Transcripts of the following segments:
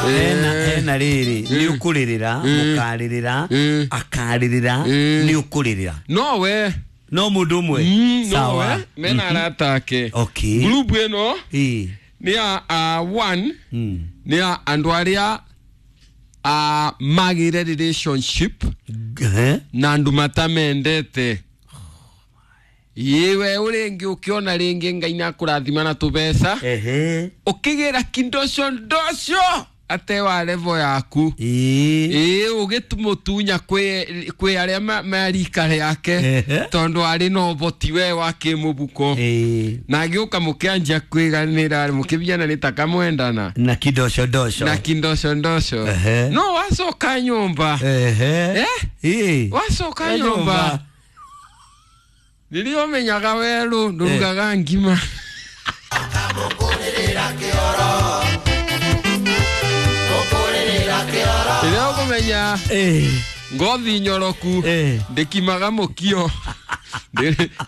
Hena rĩrĩ nĩ ũkũrĩrĩra mũkarĩrĩra akarĩrĩra nĩ ũkũrĩrĩra no we no mũndũ ũmwe. No we mena arata ake. Okay. Group ĩno Ĩĩ. nĩ ya one nĩ ya andũ arĩa magĩre relationship Eh? na andũ matamendete. Ĩĩ, we ũrĩngĩ ũkĩona rĩngĩ Ngai nĩakũrathima na tũbeca, Ehe. ũkĩgĩra kindoco ndoco ate wa level yaku. Ĩĩ. Ĩĩ, ũgĩtũmũtunya kwĩ arĩa marika rĩake tondũ arĩ na ũhoti we wa kĩmũbuko Ĩĩ. na agĩũka mũkĩanjia kwĩganĩra, mũkĩbiana nĩ takamwendana Na kidoco doco. Na kindoco ndoco. No wacoka nyũmba. Ehe. Eh? Ĩĩ. Wacoka Eh, nyũmba rĩrĩa ũmenyaga werũ ndũrugaga ngima. Rĩrĩa ũkũmenya ngothi nyoroku ndĩkimaga mũkio,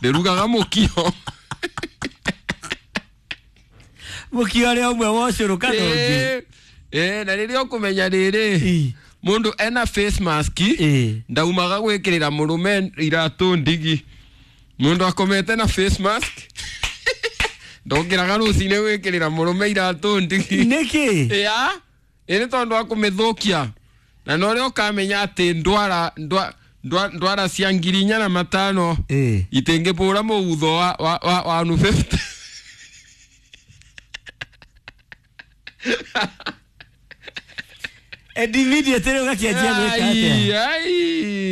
ndĩrugaga mũkio. Mũkio ũrĩa ũmwe wa ũcũrũ kana ũngĩ. Ĩĩ, na rĩrĩa ũkũmenya rĩrĩ mũndũ ena face mask ndaumaga gwĩkĩrĩra mũrũme iratũ ndigi. Mũndũ akomete na face mask ndongĩraga rũcinĩ gwĩkĩrĩra mũrũme iratũ ndigi. Nĩkĩ? Ya, ĩ nĩ tondũ wa kũmĩthũkia, na norĩa ũkamenya atĩ ndwara cia 4,500 itingĩbũra mũgutho wa 150. And immediately ũgakĩanjia gwĩka atĩa? Ai, ai.